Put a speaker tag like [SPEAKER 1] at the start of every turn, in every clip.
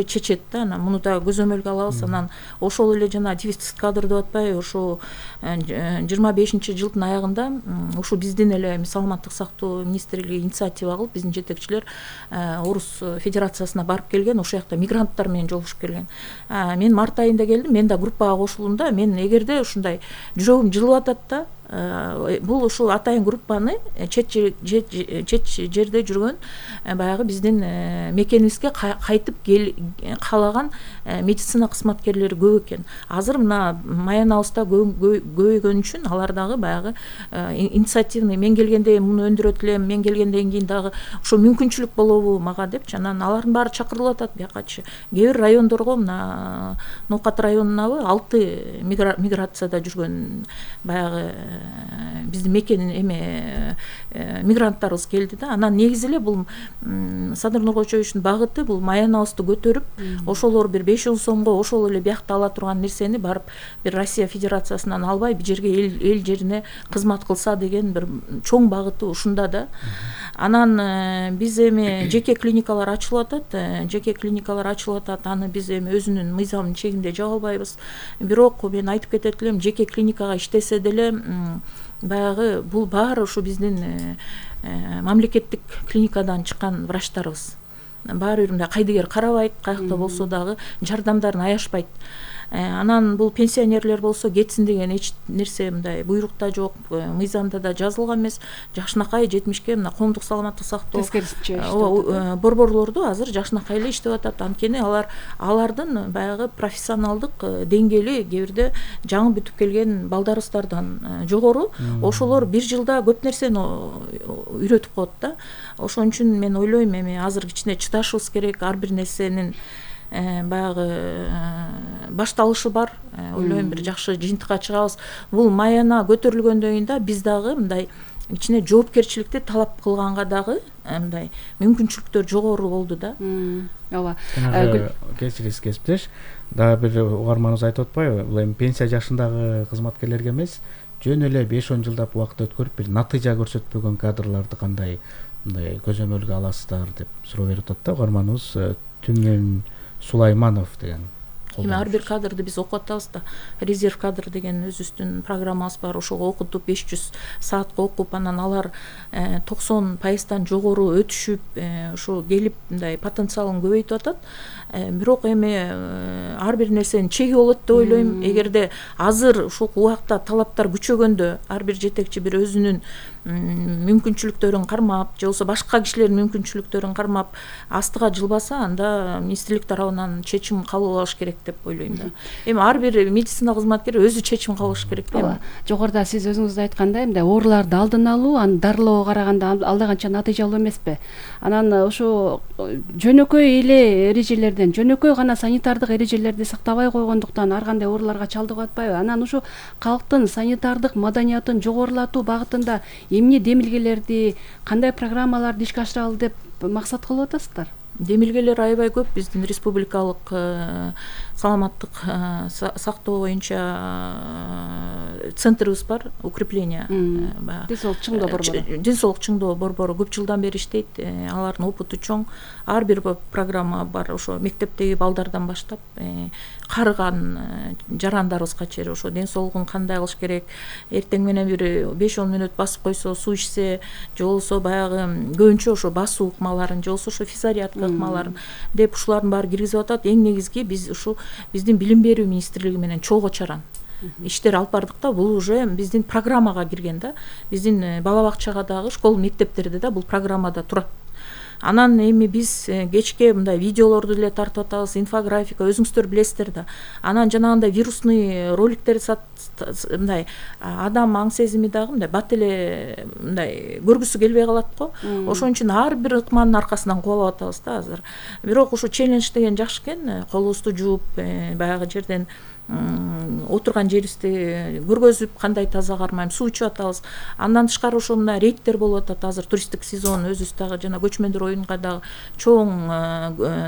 [SPEAKER 1] чечет да, анан муну да көзөмөлгө алабыз. Анан ошол эле жана дефицит кадр деп атпайбы, ошо 25-жылдын аягында ушу биздин эле саламаттык сактоо министрлиги инициатива кылып, биздин жетекчилер Орус Федерациясына барып келген, ошол жакта мигранттар менен жолугушуп келген. Мен март айында келдим, мен да группага кошулдум да, мен эгерде ушундай жүрөгүм жылып атат да, бул ушул атайын группаны чет жерде жүргөн баягы биздин мекенибизге кайтып каалаган медицина кызматкерлери көп экен. Азыр мына Маянабызда көбөйгөн үчүн алар дагы баягы инициативный, мен келгенде муну өндүрөт элем, мен келгенден кийин дагы ошо мүмкүнчүлүк болобу мага депчи. Анан алардын баары чакырылып атат биякачы. Кээ бир райондорго, мына Ноокат районунабы 6 миграцияда жүргөн баягы биздин мекен мигранттарыбыз келди да. Анан негизи эле бул Садыр Нуркожоевичтин багыты бул Маянабызды көтөрүп, ошолор бир 5-10 сомго ошол эле биякта ала турган нерсени барып бир Россия Федерациясынан албай бир жерге эл жерине кызмат кылса деген бир чоң багыты ушунда да. Анан биз эми жеке клиникалар ачылып атат. Аны биз эми өзүнүн мыйзамынын чегинде жаба албайбыз. Бирок мен айтып кетет элем, жеке клиникага иштесе деле баягы бул баары ушу биздин мамлекеттик клиникадан чыккан врачтарыбыз. Баары бир мындай кайдыгер карабайт, каякта болсо дагы жардамдарын аябышпайт. Анан бул пенсионерлер болсо кетсин деген эч нерсе мындай буйрукта жок, мыйзамда да жазылган эмес. Жакшынакай 70-ке мына коомдук саламаттык сактоо борборлорду азыр жакшынакай эле иштеп атат. Анткени алардын баягы профессионалдык деңгээли кээ бирде жаңы бүтүп келген балдарыбыздардан жогору. Ошолор бир жылда көп нерсени үйрөтүп коет да. Ошон үчүн мен ойлойм, эми азыр кичине чыдашыбыз керек. Ар бир нерсенин баягы башталышы бар. Ойлойм, бир жакшы жыйынтыкка чыгабыз. Бул Маяна көтөрүлгөндөн кийин да биз дагы мындай кичине жоопкерчиликти талап кылганга дагы мындай мүмкүнчүлүктөр жогору болду да.
[SPEAKER 2] Ооба.
[SPEAKER 3] Кечириңиз кесиптеш. Дагы бир угарманыбыз айтып атпайбы? Бул эми пенсия жашындагы кызматкерлерге эмес, жөн эле 5-10 жылдап убакыт өткөрүп бир натыйжа көрсөтпөгөн кадрларды кандай мындай көзөмөлгө аласыздар деп суроо берип атат да угарманыбыз. Түмөн Сулайманов деген.
[SPEAKER 1] Эми ар бир кадрды биз окуп атабыз да. Резерв кадр деген өзүбүздүн программабыз бар. Ошого окутуп 500 саатка окуп, анан алар 90% жогору өтүшүп, ошо келип мындай потенциалын көбөйтүп атат. Бирок эми ар бир нерсенин чеги болот деп ойлойм. Эгерде азыр ушул убакта талаптар күчөгөндө ар бир жетекчи бир өзүнүн мүмкүнчүлүктөрүн кармап, же болбосо башка кишилердин мүмкүнчүлүктөрүн кармап астыга жылбаса, анда министрлик тарабынан чечим кабыл алыш керек деп ойлойм да. Эми ар бир медицина кызматкери өзү чечим кабыл алыш керек да.
[SPEAKER 2] Жогоруда сиз өзүңүз айткандай, мындай ооруларды алдын алуу, аны дарылоого караганда алда канча натыйжалуу эмеспи? Анан ошо жөнөкөй эле эрежелерден, жөнөкөй гана санитардык эрежелерди сактабай койгондуктан ар кандай ооруларга чалдыгып атпайбы? Анан ошо калктын санитардык маданиятын жогорулатуу багытында эмне демилгелерди, кандай программаларды ишке ашыралы деп максат кылып атасыздар?
[SPEAKER 1] Демилгелер аябай көп. Биздин республикалык саламаттык сактоо боюнча центрибиз бар, укрепление.
[SPEAKER 2] Денсаулык чыңдоо борбору.
[SPEAKER 1] Денсаулык чыңдоо борбору көп жылдан бери иштейт. Алардын опыту чоң. Ар бир программа бар. Ошо мектептеги балдардан баштап карыган жарандарыбызга чейин ошо денсаулугун кандай кылыш керек, эртең менен бир 5-10 мүнөт басып койсо, суу ичсе, же болбосо баягы көбүнчө ошо басуу ыкмаларын, же болбосо ошо физариатка ыкмаларын деп ушулардын баары киргизип атат. Эң негизги биз ушу биздин билим берүү министрлиги менен чогуу чаран иштер алып бардык да. Бул уже биздин программага кирген да. Биздин бала бакчага дагы, школ мектептерде да бул программада турат. Анан эми биз кечке мындай видеолорду деле тартып атабыз, инфографика, өзүңүздөр билесиздер да. Анан жанагындай вирусный роликтер мындай адам аң сезими дагы мындай бат эле мындай көргүсү келбей калат го. Ошон үчүн ар бир ыкманын аркасынан кубалап атабыз да азыр. Бирок ушу челлендж деген жакшы экен. Колубузду жууп, баягы жерден отурган жерибизди көргөзүп, кандай таза кармайм, суу ичип атабыз. Андан тышкары ошо мына рейдтер болуп атат. Азыр туристтик сезон, өзүбүз дагы жана көчмөндөр оюнга дагы чоң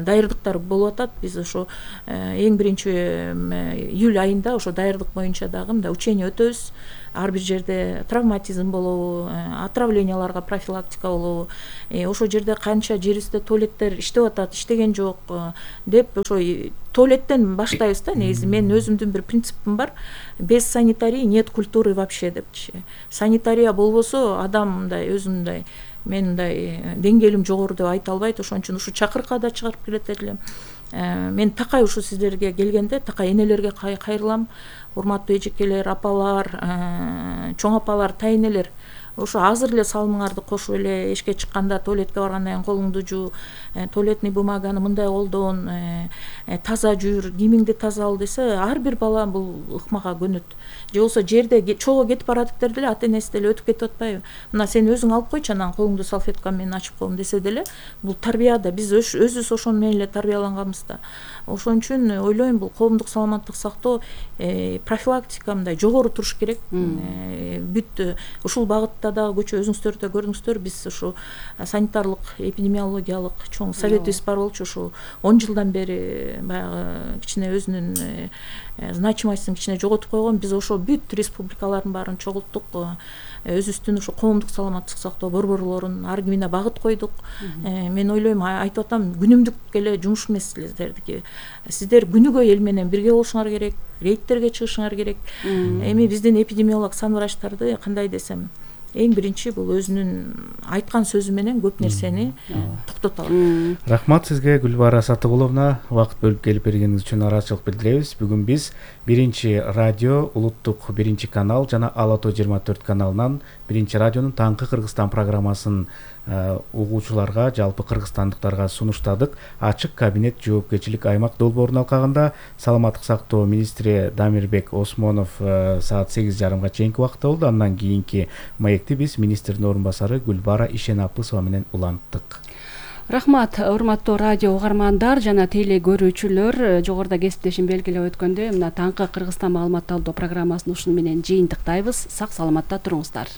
[SPEAKER 1] даярдыктар болуп атат. Биз ошо эң биринчи июль айында ошо даярдык боюнча дагы мындай учение өтөбүз. ар бир жерде травматизм болобу, отравленияларга профилактика болобу, ошол жерде канча жерибизде туалеттер иштеп атат, иштеген жок деп ошо туалеттен баштайбыз да. Негизи мен өзүмдүн бир принципим бар: без санитарии нет культуры вообще депчи. Санитария болбосо адам мындай өзүмдай мен мындай деңгээлим жогору деп айта албайт. Ошон үчүн ушу чакырыкка да чыгарып келет элем. Мен такай ушу сиздерге келгенде такай энелерге кайрылам. Урматтуу эжекелер, апалар, чоң апалар, тайнелер, ошо азыр эле салымыңарды кошуп эле эшикке чыкканда, туалетке баргандан кийин колуңду жуу, туалетный бумаганы мындай колдон, таза жүр, кийимиңди таза ал десе, ар бир бала бул ыкмага көнөт. Же болбосо жерде чогуу кетип баратыптыр деле ата энеси деле өтүп кетип атпайбы? Мына сен өзүң алып койчу, анан колуңду салфетка менен ачып коем десе деле, бул тарбия да. Биз өзүбүз ошону менен эле тарбияланганбыз да. Ошон үчүн ойлойм, бул коомдук саламаттык сактоо профилактика мындай жогору туруш керек. Бүт ушул багытта дагы көчө өзүңүздөр да көрдүңүздөр, биз ушу санитарлык эпидемиологиялык чоң советибиз бар болчу. Ушу 10 жылдан бери баягы кичине өзүнүн значимостун кичине жоготуп койгон. Биз ошо бүт республикалардын баарын чогулттук. Өзүбүздүн ушу коомдук саламаттык сактоо борборлорун ар кимине багыт койдук. Мен ойлойм, айтып атам, күнүмдүк эле жумуш эмес сиздердики. Сиздер күнүгө эл менен бирге болушуңар керек, рейдтерге чыгышыңар керек. Эми биздин эпидемиолог санврачтарды кандай десем, эң биринчи бул өзүнүн айткан сөзү менен көп нерсени токтото алат.
[SPEAKER 3] Рахмат сизге, Гүлбара Сатыгуловна, убакыт бөлүп келип бергениңиз үчүн ыраазычылык билдиребиз. Бүгүн биз 1-радио, улуттук 1-канал жана Ала Тоо 24 каналынан 1-радионун Таңкы Кыргызстан программасын угуучуларга, жалпы кыргызстандыктарга сунуштадык. Ачык кабинет жоопкерчилик аймак долбоорун алкагында саламаттык сактоо министри Дамирбек Осмонов саат 8:30 чейинки убакытта болду. Андан кийинки маекти биз министрдин орун басары Гүлбара Ишенапысова менен уланттык.
[SPEAKER 2] Рахмат, урматтуу радио угармандар жана теле көрүүчүлөр. Жогоруда кесиптешим белгилеп өткөндөй, мына Таңкы Кыргызстан маалымат алуу программасын ушуну менен жыйынтыктайбыз. Сак саламатта туруңуздар.